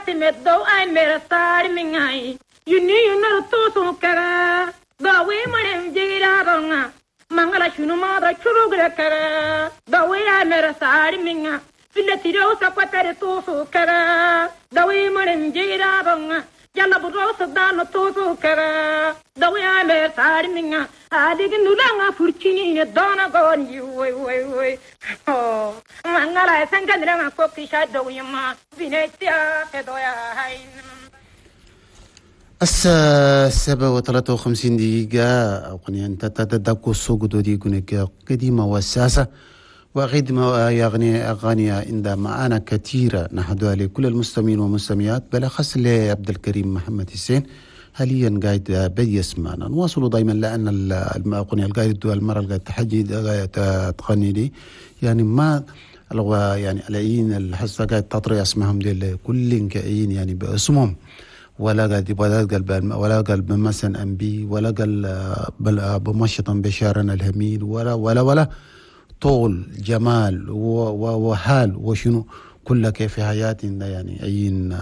سمدو اي مرسار من اي يني ينرتو كرا ضوي مرم جيرا رنا مانغلا شنو ما دا شروغ كرا ضوي مرسار من في التيرو سقطر توسو كرا ضوي مرم جيرا رنا يلا بروس دان توسو كرا ضوي مرسار من هذيك نولانا فرشيني دانا غون وي وي وي مانغلا سنگندرا كوكي شادو يما بنتيا كدويا هاي. الساعة 7:53 أغنية أنت تتدكو السوق دودي قنك قديمة وساسة وغدمة يغني أغاني عند معانا كثيرة نحدها لكل المستمعين والمستمعات بالأخص لعبد الكريم محمد حسين حاليا قاعد بيسمعنا. نواصلوا دائما لأن الأغنية القاعد المرة القاعد تحجي قاعد تغني لي يعني ما يعني العين الحصة قاعد تطري اسمهم دي كل كائن يعني باسمهم ولا قال ولا قال ولا قال بمثلا انبي ولا قال بل بمشطا بشارنا الهميل ولا ولا ولا طول جمال وحال وشنو كل كيف في حياتنا يعني عين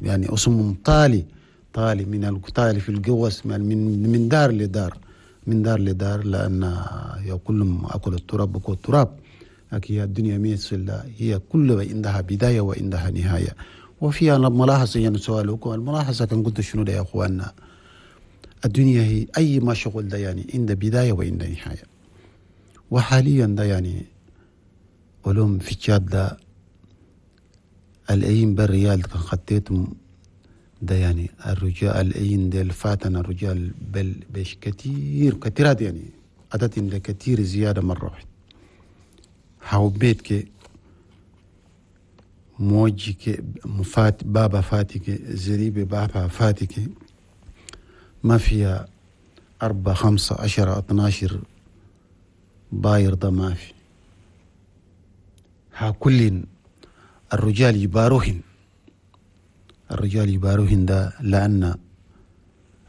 يعني اسمهم طالي طالي من الطالي في القوس من دار لدار من دار لدار لأن كلهم أكل التراب بكو التراب. لكن الدنيا ميت هي كل عندها بداية وعندها نهاية. وفيها ملاحظة يعني سؤالكم الملاحظة كان قلت شنو يا أخواننا، الدنيا هي أي ما شغل ده يعني عند بداية وعند نهاية. وحاليا ده يعني علوم في تشاد ده الأيام بالريال كان خطيتهم ده يعني الرجال الأيام ده الفاتن الرجال بل بش كتير كتيرات يعني عدد كتير زيادة مرة واحدة. حاوبيت كي موجك مفات بابا فاتك زريبة بابا فاتك ما فيها 4 5 10 12 باير ده ما في. ها كل الرجال يباروهن الرجال يباروهن ده لأن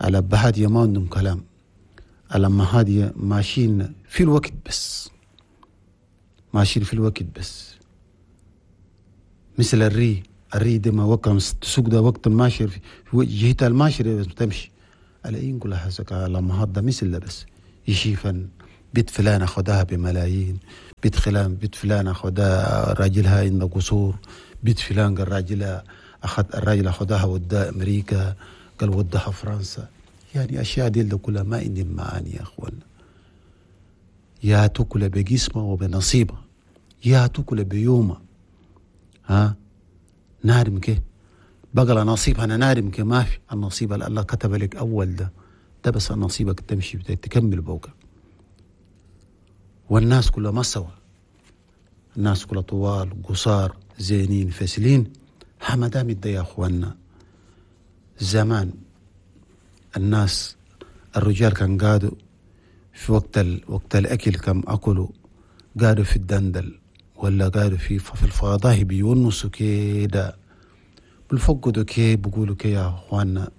على بهادية ما عندهم كلام، على مهادية ماشيين في الوقت بس، ماشيين في الوقت بس مثل الري ده ما وقت تسوق ده وقت الماشر في جهة الماشر بس تمشي على كلها حسك على مهضة مثل ده بس يشيفا بيت فلان أخذها بملايين، بيت خلان بيت فلان أخذها راجلها عند قصور، بيت فلان قال راجلها أخذ الراجل أخذها ودها أمريكا قال ودها فرنسا. يعني أشياء دي كلها ما عندي معاني يا أخوان. يا تاكل بجسمه وبنصيبه، يا تاكل بيومه، ها نارم كي بقى نصيب أنا نارم كي ما في النصيب اللي الله كتب لك أول ده بس نصيبك تمشي تكمل بوكا. والناس كلها ما سوا، الناس كلها طوال قصار زينين فاسلين. حمدام ده يا أخوانا زمان الناس الرجال كان قادوا في وقت الأكل كم أكلوا قادوا في الدندل ولا قالوا في الفضاء بيونسوا كده بالفقدوا كي بيقولوا كي يا اخوانا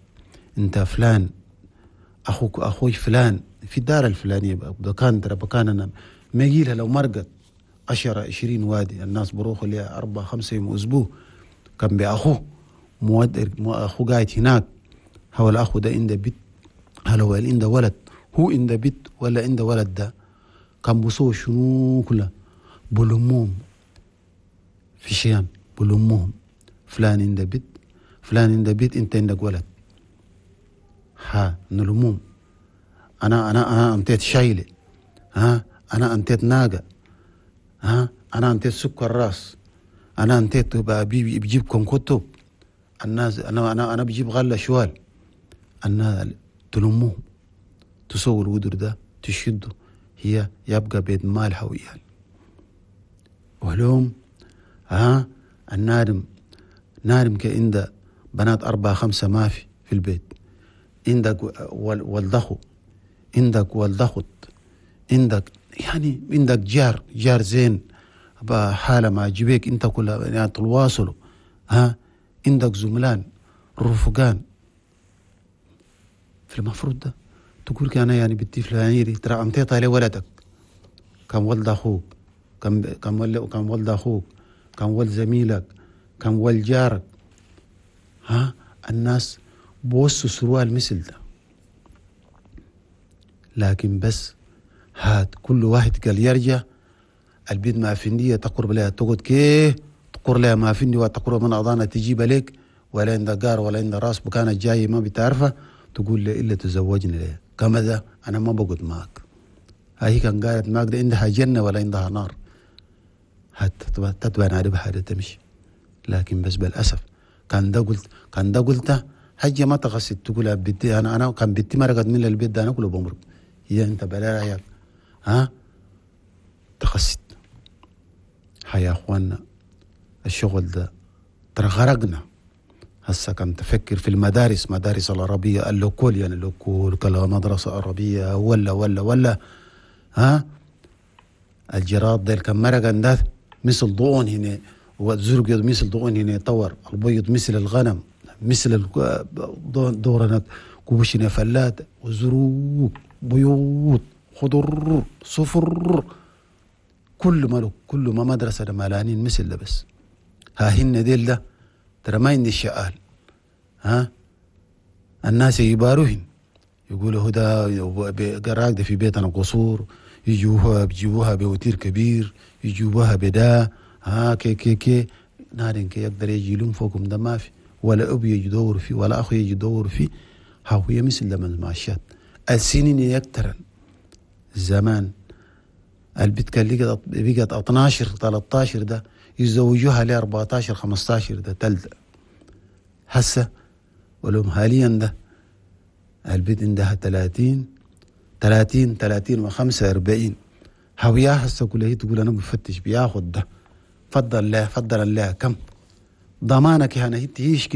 انت فلان اخوك اخوي فلان في الدار الفلانيه بكان ترى بكان انا ما يجيلها لو مرقت 10 20 وادي الناس بروحوا لها 4 5 يوم اسبوع كان باخوه اخوه قاعد هناك. هو الاخو ده عنده بيت، هل هو عنده ولد، هو عنده بيت ولا عنده ولد ده كان بصوا شنو كله بلموهم في شيام بلموهم فلان عنده بيت فلان عنده بيت انت عندك ولد ها نلموم انا انا انا انتيت شايله ها انا انتيت ناقه ها انا انتيت سكر راس انا انتيت بجيبكم كتب الناس انا انا انا بجيب غله شوال. الناس تلموهم تسووا الودر ده تشدوا هي يبقى بيت مال حويال وهلوم ها النارم نارم كعند بنات 4 5 ما في البيت عندك والدخو عندك والدخت عندك يعني عندك جار زين بحالة ما جبيك انت كلها يعني تواصلوا ها عندك زملان رفقان. في المفروض ده تقول كان يعني بدي فلانيري ترى أمتيت على ولدك كان ولد أخوك كان ولد أخوك كان ولد زميلك كان ولد جارك ها الناس بوصوا سروال مثل ده، لكن بس هات كل واحد قال يرجع البيت ما فندية تقرب لها تقعد كيه تقر لها ما فندي وتقرب من أضانا تجيب لك ولا عند قار ولا عند راس بكانت جاي ما بتعرفه تقول لي إلا تزوجني ليه كما ده أنا ما بقعد معك. هاي كان قالت معك ده عندها جنة ولا عندها نار، تتبع نعرف حاجة تمشي. لكن بس بالأسف كان ده قلت كان ده قلته حاجة ما تغسل تقول بدي أنا كان بدي مرقت من البيت ده أنا كله بمرق هي أنت بلا رأيك ها تغسل. هيا أخوانا الشغل ده ترى غرقنا. هسه كان تفكر في المدارس، مدارس العربية اللوكول يعني اللوكول كلا مدرسة عربية ولا ولا ولا ها الجراد ده كان مرقا ده مثل ضوء هنا والزرق مثل ضوء هنا طور البيض مثل الغنم مثل دورنا كوبشنا فلات وزروق بيوت خضر صفر كل ما كل ما مدرسة ملانين مثل ده بس. ها هن ديل ده ترى ما عندي شقال ها الناس يباروهن يقولوا هدى قراك ده في بيتنا قصور يجوها بيجيبوها بوتير كبير يجيبوها بدا ها كي كي كي نارين كي يقدر يجي لهم فوقهم ده ما في ولا أبي يجي يدور فيه ولا أخو يجي يدور فيه. ها هو مثل ده من المعاشات السنين يكترن زمان البيت كان بقت 12 13 ده يزوجوها ل 14 15 ده تلد. هسه ولهم حاليا ده البيت عندها 30 30 30 و45 هويا هسه كلها هي تقول انا بفتش بياخد ده فضل الله فضل الله كم ضمانك هنا هي تعيش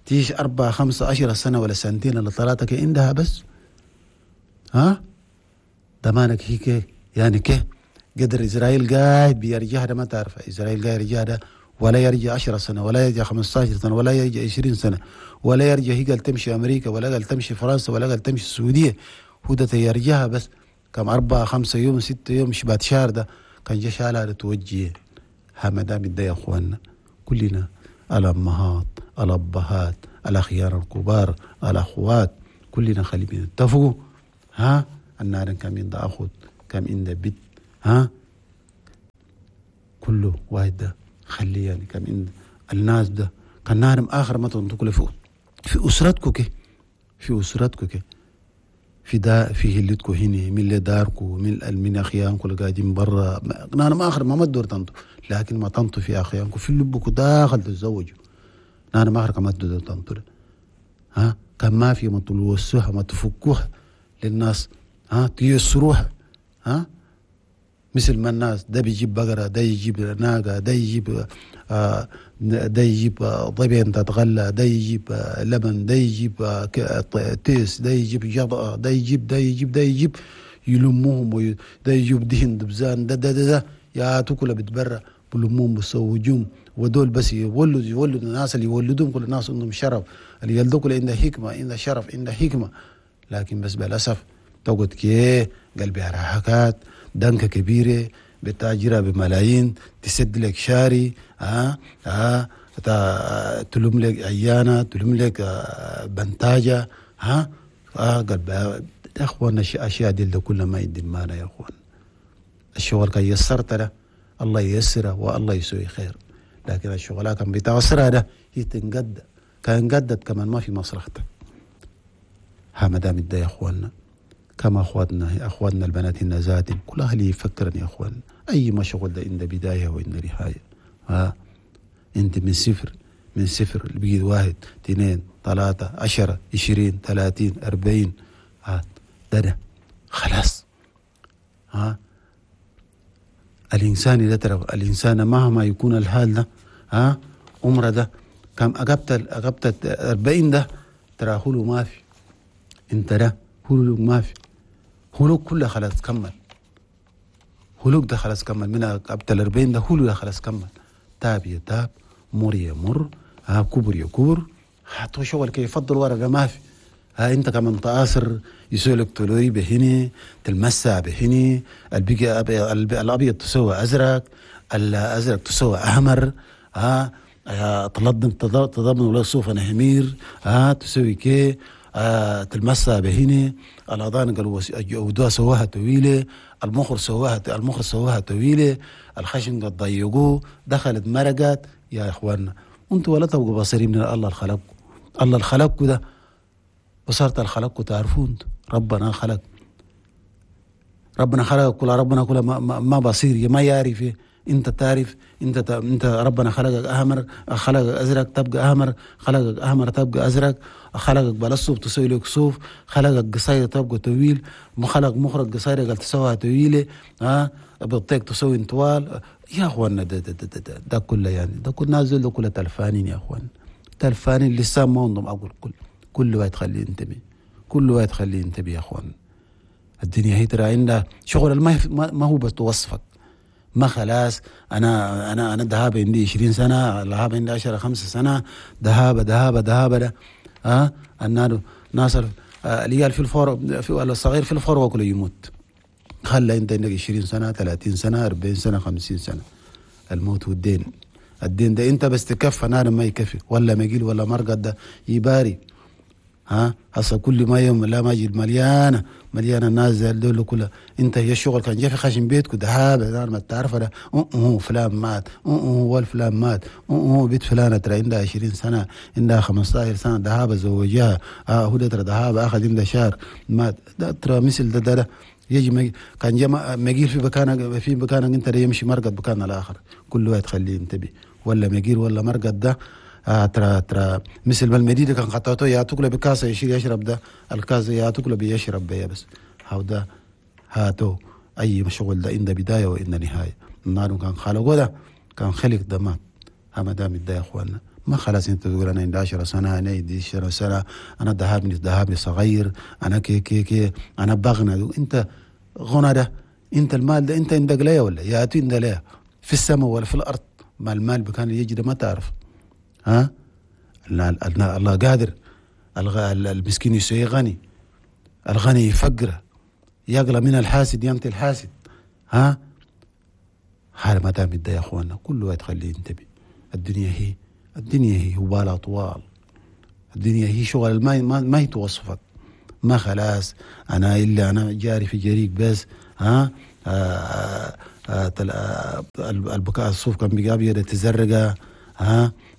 تعيش 4 5 10 سنة ولا سنتين ولا 3 كي عندها بس ها ضمانك هي كي يعني كي قدر إسرائيل قاعد بيرجع ده ما تعرف إسرائيل قاعد يرجع ده ولا يرجع 10 سنة ولا يرجع 15 سنة ولا يرجع 20 سنة ولا يرجع هي قال تمشي أمريكا ولا قال تمشي فرنسا ولا قال تمشي السعودية هو ده يرجعها بس كم 4 5 يوم 6 يوم شبات شهر ده كان جا شالها توجيه. ها ما دام ده يا أخواننا كلنا الأمهات الأبهات الأخيار الكبار الأخوات كلنا خلينا نتفقوا ها النار كم عند أخت كم عند بنت ها كله واحد ده خليه يعني كم عند الناس ده كان نار آخر ما تنطق في أسرتكو كي في أسرتكو كي في دا في هلتكو هنا من اللي داركو من أخيانكو اللي قاعدين برا نار آخر ما تدور تنطو لكن ما تنطو في أخيانكو في لبكو داخل تتزوجوا نار آخر ما تدور تنطو ها كان ما في ما تلوسوها ما تفكوها للناس ها تيسروها ها مثل ما الناس ده بيجيب بقرة ده يجيب ناقة ده يجيب ده يجيب ضبين تتغلى ده يجيب لبن ده يجيب تيس ده يجيب جضأة ده يجيب ده يجيب ده يجيب يلموهم ده يجيب دهن دبزان ده ده ده, ده يا تاكل بتبرع بلموهم بسوجوم ودول بس يولد الناس اللي يولدون كل الناس عندهم شرف اللي يلدوا كل عنده حكمة عنده شرف عنده حكمة. لكن بس بالأسف تقعد كي قلبي حركات دنكة كبيرة بتاجرها بملايين تسد لك شاري ها ها تلوم لك عيانة تلوم لك بنتاجة ها قلب يا اخوانا اشياء دي ده كلها ما يدي معنا يا اخوان. الشغل كان يسرت له الله ييسره والله يسوي خير، لكن الشغلات كان بتعسرها ده هي تنقد كان قدت كمان ما في مصلحتك. ها ما دام ده يا اخواننا كما اخواتنا اخواتنا البنات النزات كل اهلي يفكرن يا اخوان اي ما شغل ده عند بداية وعند نهاية. ها انت من صفر من صفر بقيت 1 2 3 10 20 30 40 ها ده خلاص. ها الانسان اذا ترى الانسان مهما يكون الحال ده ها عمره ده كم اقبت 40 ده ترى هو ما في انت ده هلوك ما في هلوك كله خلاص كمل هلوك ده خلاص كمل من قبل 40 ده هلوك ده خلاص كمل تاب يتاب مر يمر ها كبر يكبر حتى شغل كي يفضل ورقة ما في. ها انت كمان تآثر يسولك تلوري بهني تلمسها بهني البقى الابيض تسوى ازرق الازرق تسوى احمر ها تلضم تضمن ولا صوف انا همير، تسوي كي، تلمسها بهني الاذان قالوا ودوها سواها طويلة، المخر سواها طويلة، الخشن قد ضيقوه، دخلت مرقت. يا اخواننا انتوا ولا تبقوا بصيرين من الله الخلقكم، الله الخلقكم ده بصرت الخلقكم تعرفون ربنا خلق، ربنا خلق كل، ربنا كل ما بصير ما يعرف. انت تعرف، انت ربنا خلقك احمر، خلقك ازرق تبقى احمر، خلقك احمر تبقى ازرق، خلقك بلا صوف تسوي لك صوف، خلقك قصير تبقى طويل، خلق مخرج قصير قال تسويها طويلة، بطيك تسوي طوال. يا اخوانا ده ده ده ده, ده كله يعني ده كل نازل ده كله تلفانين يا اخوان، تلفانين لسه ما عندهم اقول كل واحد خليه ينتبه، كل واحد خليه ينتبه يا اخوان. الدنيا هي ترى عندها شغل ما هو بس وصفك، ما خلاص انا انا انا ذهاب عندي 20 سنة، ذهاب عندي 10 5 سنة، ذهاب ذهاب ذهاب ده النار ناصر العيال في الفور في الصغير في الفروه كله يموت. خلى انت عندك 20 سنة 30 سنة 40 سنة 50 سنة، الموت والدين، الدين ده انت بس تكفى نار ما يكفي، ولا مجيل ولا مرقد ده يباري. هسه كل ما يوم لا ما يجي مليانة مليانة الناس دول كلها. انت هي الشغل كان جاي في خشم بيتك ذهاب ما تعرف ده فلان مات، والفلان مات، بيت فلانه ترى عندها 20 سنة عندها 15 سنة ذهاب زوجها، هو ترى ذهاب اخذ عنده شهر مات. ده ترى مثل ده ده يجي كان جا مجيل في مكانك، في مكانك انت يمشي مرقد مكان الاخر. كل واحد خليه ينتبه، ولا مجيل ولا مرقد ده ترى ترى مثل ما المدينة كان خطاته يعطوك له بكاسة يشيل يشرب ده الكاسة يعطوك له بيشرب بيا بس. هذا هاتو أي شغل ده عند بداية وإن نهاية. النار كان خلقه ده كان خلق ده مات. ما دام ده يا إخواننا ما خلاص أنت تقول أنا عندي 10 سنة، أنا عندي 10 سنة، أنا ذهبني صغير، أنا كي كي كي، أنا بغنى. أنت غنى ده، أنت المال ده أنت عندك ليه ولا ياتي عندك ليه في السماء ولا في الأرض؟ ما المال بكان يجي ده ما تعرف. الله قادر. المسكين يسوي غني، الغني يفقره، يقلى من الحاسد يمتي الحاسد. هذا ما دام ده يا اخواننا كل واحد خليه ينتبه. الدنيا هي، الدنيا هي وبالها طوال، الدنيا هي شغل ما هي توصفك. ما خلاص انا الا انا جاري في جريك بس. البكاء الصوف كان بيقابل تزرقه.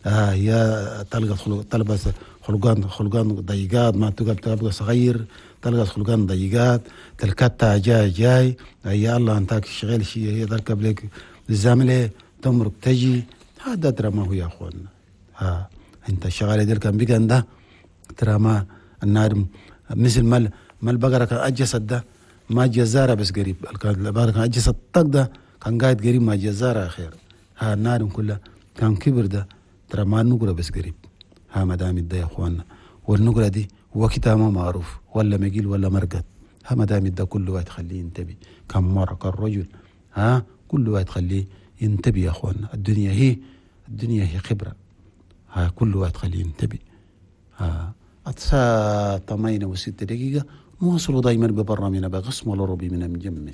هي تلقى تلبس خلقان ضيقات، ما تبقى صغير، تلقى خلقان ضيقات، تلكتها جاي جاي يا الله انتك شغال شيء، هي تركب لك الزامله تمرق تجي. هذا ترى ما هو يا اخواننا. انت الشغاله ديل كان بيقى ده ترى ما النار مثل ما البقرة كان اجسد ده ما جزاره بس قريب، البقرة كان اجسد طق ده كان قاعد قريب ما جزاره خير. النار كلها كان كبر ده ترى ما النقرة بس قريب. ما دام ده يا اخواننا، والنقرة دي وقتها ما معروف، ولا مجيل ولا مرقد. ما دام ده كل واحد خليه ينتبه، كم مرة كالرجل كل واحد خليه ينتبه يا اخواننا. الدنيا هي، الدنيا هي خبرة. كل واحد خليه ينتبه. 8:06 نواصلوا دايما ببرنامجنا بقسم العربي من مجمد.